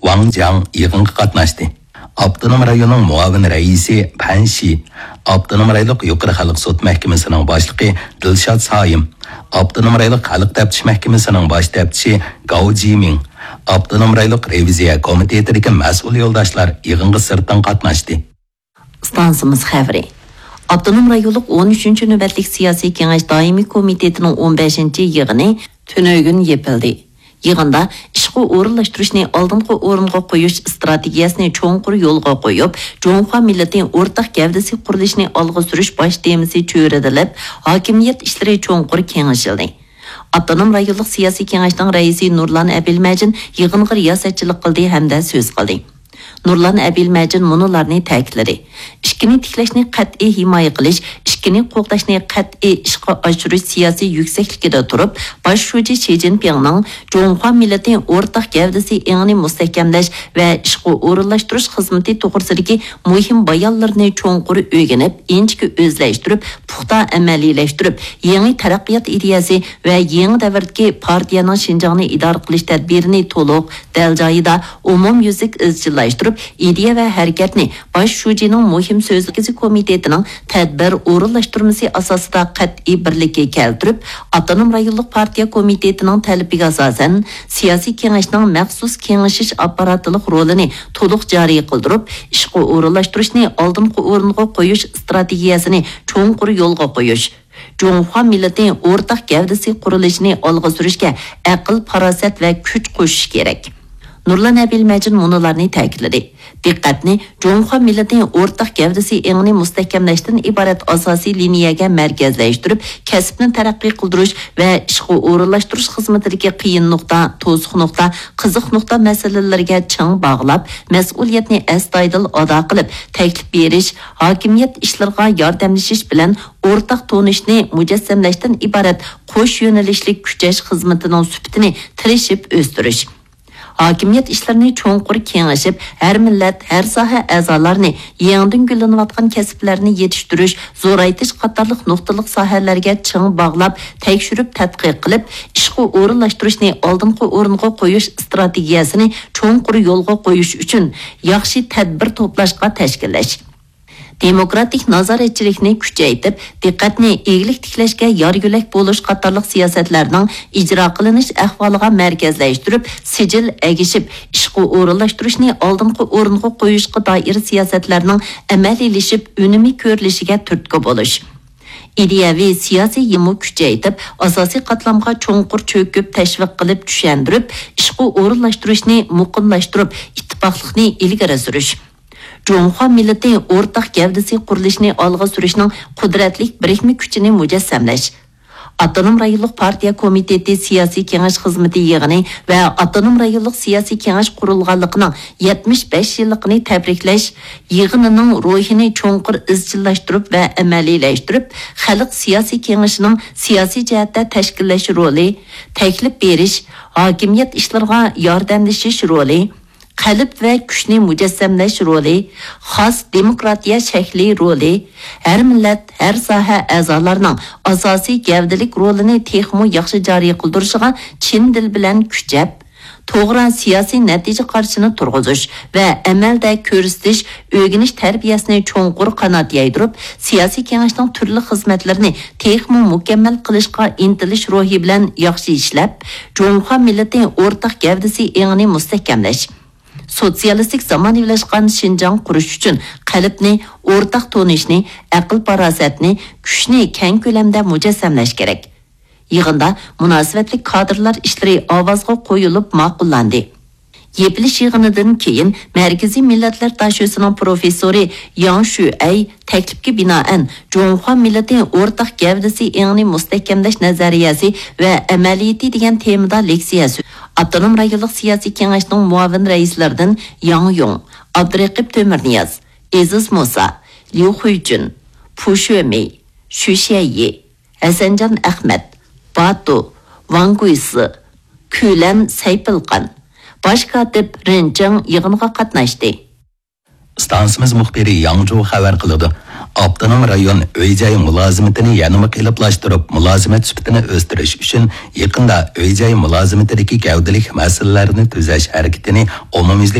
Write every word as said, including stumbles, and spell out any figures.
ۋاڭ جياڭ يىغىنغا قاتناشتى. ئاپتونوم رايوننىڭ مۇئاۋىن رەئىسى پەن شى، ئاپتونوم رايونلۇق يۇقىرى خەلق سوت مەھكىمىسىنىڭ باشلىقى دىلشات سايىم، ئاپتونوم رايونلۇق خەلق تەپتىش مەھكىمىسىنىڭ باش تەپتىشى گاۋ جىمىڭ، ئاپتونوم رايونلۇق رېۋىزىيە كومىتېتىدىكى مەسئۇل يولداشلار يىغىنغا سىرتتىن قاتناشتى. ئىستانسىمىز خەۋىرى. ئاپتونوم رايونلۇق ئون ئۈچىنچى نۆۋەتلىك سىياسىي كېڭەش دائىمىي كومىتېتىنىڭ ئون بەشىنچى يىغىنى تۈنۈگۈن يېپىلدى. يىغىندا ئىشقا ئورۇنلاشتۇرۇشنى ئالدىنقى ئورۇنغا قويۇش ئىستراتېگىيەسىنى چوڭقۇر يولغا قويۇپ، جۇڭخۇا مىللىتى ئورتاق گەۋدىسى قۇرۇلۇشىنى ئالغا سۈرۈش باش تېمىسى چۆرىدىلىپ، ھاكىمىيەت ئىشلىرى چوڭقۇر كېڭىشىلدى. ئاپتونوم رايونلۇق سىياسىي كېڭەشنىڭ رەئىسى نۇرلان ئەبىلمەجىن يىغىنغا رىياسەتچىلىك قىلدى ھەمدە سۆز قىلدى. نۇرلان ئەبىلمەجىن مۇنۇلارنى تەكىتلىدى: ئىككىنى تىكلەشنى قەتئىي ھىمايە قىلىش، ئىككىنى قوغداشنى قەتئىي ئىشقا ئاشۇرۇش سىياسىي يۈكسەكلىكىدە تۇرۇپ، باش شۇجى شى جىنپىڭنىڭ جۇڭخۇا مىللىتى ئورتاق گەۋدىسى ئېڭىنى مۇستەھكەملەش ۋە ئىشقا ئورۇنلاشتۇرۇش خىزمىتى توغرىسىدىكى مۇھىم بايانلىرىنى چوڭقۇر ئۆگىنىپ، ئىنچىكە ئۆزلەشتۈرۈپ، پۇختا ئەمەلىيلەشتۈرۈپ، يېڭى تەرەققىيات ئىدىيەسى ۋە يېڭى دەۋردىكى پارتىيەنىڭ شىنجاڭنى ئىدارە قىلىش تەدبىرىنى تولۇق، دەل جايىدا، ئومۇميۈزلۈك ئىزچىللاشتۇرۇپ، ئىدىيە ۋە ھەرىكەتنى باش شۇجىنىڭ مۇھىم سۆزى كومىتېتىنىڭ تەدبىر ئورۇنلاشتۇرمىسى ئاساسىدا قەتئىي بىرلىككە كەلتۈرۈپ، ئاپتونوم رايونلۇق پارتىيە كومىتېتىنىڭ تەلىپىگە ئاساسەن، سىياسىي كېڭەشنىڭ مەخسۇس كېڭىشىش ئاپپاراتلىق رولىنى تولۇق جارى قىلدۇرۇپ، ئىشقا ئورۇنلاشتۇرۇشنى ئالدىنقى ئورۇنغا قويۇش ئىستراتېگىيەسىنى چوڭقۇر يولغا قويۇش، جۇڭخۇا مىللىتى ئورتاق گەۋدىسى قۇرۇلۇشىنى ئالغا سۈرۈشكە ئەقىل، پاراسەت ۋە كۈچ قوشۇش كېرەك. نۇرلان ئەبىلمەجىن مۇنۇلارنى تەكىتلىدى: دىققەتنى جۇڭخۇا مىللىتى ئورتاق گەۋدىسى ئېڭىنى مۇستەھكەملەشتىن ئىبارەت ئاساسىي لىنىيەگە مەركەزلەشتۈرۈپ، كەسىپنى تەرەققىي قىلدۇرۇش ۋە ئىشقا ئورۇنلاشتۇرۇش خىزمىتىدىكى قىيىن نۇقتا، توسۇق نۇقتا، قىزىق نۇقتا مەسىلىلىرىگە چىڭ باغلاپ، مەسئۇلىيەتنى ئەستايىدىل ئادا قىلىپ، تەكلىپ بېرىش، ھاكىمىيەت ئىشلىرىغا ياردەملىشىش بىلەن ئورتاق تونۇشنى مۇجەسسەملەشتىن ئىبارەت قوش يۆنىلىشلىك كۈچەش خىزمىتىنىڭ سۈپىتىنى تىرىشىپ ئۆستۈرۈش. ھاكىمىيەت ئىشلىرىنى چوڭقۇر كېڭىشىپ، ھەر مىللەت، ھەر ساھە ئەزالارنى، يېڭىدىن گۈللىنىۋاتقان كەسىپلەرنى يېتىشتۈرۈش، زورايتىش قاتارلىق نۇقتىلىق ساھەلەرگە چىڭ باغلاپ، تەكشۈرۈپ تەتقىق قىلىپ، ئىشقا ئورۇنلاشتۇرۇشنى ئالدىنقى ئورۇنغا قويۇش ئىستراتېگىيەسىنى چوڭقۇر يولغا قويۇش ئۈچۈن ياخشى تەدبىر توپلاشقا تەشكىللەش. دېموكراتىك نازارەتچىلىكنى كۈچەيتىپ، دىققەتنى ئىگىلىك تىكلەشكە يار يۆلەك بولۇش قاتارلىق سىياسەتلەرنىڭ ئىجرا قىلىنىش ئەھۋالىغا مەركەزلەشتۈرۈپ، سىجىل ئەگىشىپ، ئىشقا ئورۇنلاشتۇرۇشنى ئالدىنقى ئورۇنغا قويۇشقا دائىر سىياسەتلەرنىڭ ئەمەلىيلىشىپ، ئۈنۈمى كۆرۈلۈشىگە تۈرتكە بولۇش. ئىدىيەۋى سىياسىي يىمۇ كۈچەيتىپ، ئاساسىي قاتلامغا چوڭقۇر چۆكۈپ، تەشۋىق قىلىپ، چۈشەندۈرۈپ، ئىشقا ئورۇنلاشتۇرۇشنى مۇقىملاشتۇرۇپ، ئىتتىپاقلىقنى ئىلگىرى سۈرۈش. جۇڭخۇا مىللىتى ئورتاق گەۋدىسى قۇرۇلۇشىنى ئالغا سۈرۈشنىڭ قۇدرەتلىك بىرىكمە كۈچىنى مۇجەسسەملەش. ئاپتونوم رايونلۇق پارتىيە كومىتېتى سىياسىي كېڭەش خىزمىتى يىغىنى ۋە ئاپتونوم رايونلۇق سىياسىي كېڭەش قۇرۇلغانلىقىنىڭ يەتمىش بەش يىللىقىنى تەبرىكلەش يىغىنىنىڭ روھىنى چوڭقۇر ئىزچىللاشتۇرۇپ ۋە ئەمەلىيلەشتۈرۈپ، خەلق سىياسىي كېڭىشىنىڭ سىياسىي جەھەتتە تەشكىللەش رولى، تەكلىپ بېرىش، ھاكىمىيەت ئىشلىرىغا ياردەملىشىش رولى، قەلب ۋە كۈچنى مۇجەسسەملەش رولى، خاس دېموكراتىيە شەكلى رولى، ھەر مىللەت، ھەر ساھە ئەزالارنىڭ ئاساسىي گەۋدىلىك رولىنى تېخىمۇ ياخشى جارى قىلدۇرۇشىغا چىن دىل بىلەن كۈچەپ، توغرا سىياسىي نەتىجە قارىشىنى تۇرغۇزۇش ۋە ئەمەلدە كۆرسىتىش، ئۆگىنىش تەربىيەسىنى چوڭقۇر قانات يايدۇرۇپ، سىياسىي كېڭەشنىڭ تۈرلۈك خىزمەتلىرىنى تېخىمۇ مۇكەممەل قىلىشقا ئىنتىلىش روھى بىلەن ياخشى ئىشلەپ، جۇڭخۇا مىللىتى ئورتاق گەۋدىسى ئېڭىنى مۇستەھكەملەش. سوتسىيالىستىك زامانىۋىلاشقان شىنجاڭ قۇرۇش ئۈچۈن قەلبنى، ئورتاق تونۇشنى، ئەقىل-پاراسەتنى، كۈچنى كەڭ كۆلەمدە مۇجەسسەملەش كېرەك. يىغىندا مۇناسىۋەتلىك كادىرلار ئىشلىرى ئاۋازغا قويۇلۇپ ماقۇللاندى. يېپىلىش يىغىنىدىن كېيىن، مەركىزىي مىللەتلەر داشۆسىنىڭ پروفېسسورى ياڭ شۈئەي تەكلىپكە بىنائەن، جۇڭخۇا مىللىتى ئورتاق گەۋدىسى ئېڭىنى مۇستەھكەملەش نەزەرىيەسى ۋە ئەمەلىيىتى دېگەن تېمىدا لېكسىيە سۆ-، ئاپتونوم رايونلۇق سىياسىي كېڭەشنىڭ مۇئاۋىن رەئىسلىرىدىن ياڭ يۇڭ، ئابدۇرېقىپ تۆمۈرنىياز، ئېزىز مۇسا، ليۇ خۇيجۈن، پۇ شۆمېي، شۈ شيەيي، ھەسەنجان ئەخمەت، باتۇ، ۋاڭ گۇيسى، كۈلەن سەيپىلقان، باش كاتىپ رېن چېڭ يىغىنغا قاتناشتى. ئىستانسىمىز مۇخبىرى ياڭ جۇ خەۋەر قىلىدۇ. ئاپتونوم رايون ئۆي-جاي مۇلازىمىتىنى يەنىمۇ قېلىپلاشتۇرۇپ، مۇلازىمەت سۈپىتىنى ئۆستۈرۈش ئۈچۈن، يېقىندا ئۆي-جاي مۇلازىمىتىدىكى گەۋدىلىك مەسىلىلەرنى تۈزەش ھەرىكىتىنى ئومۇميۈزلۈك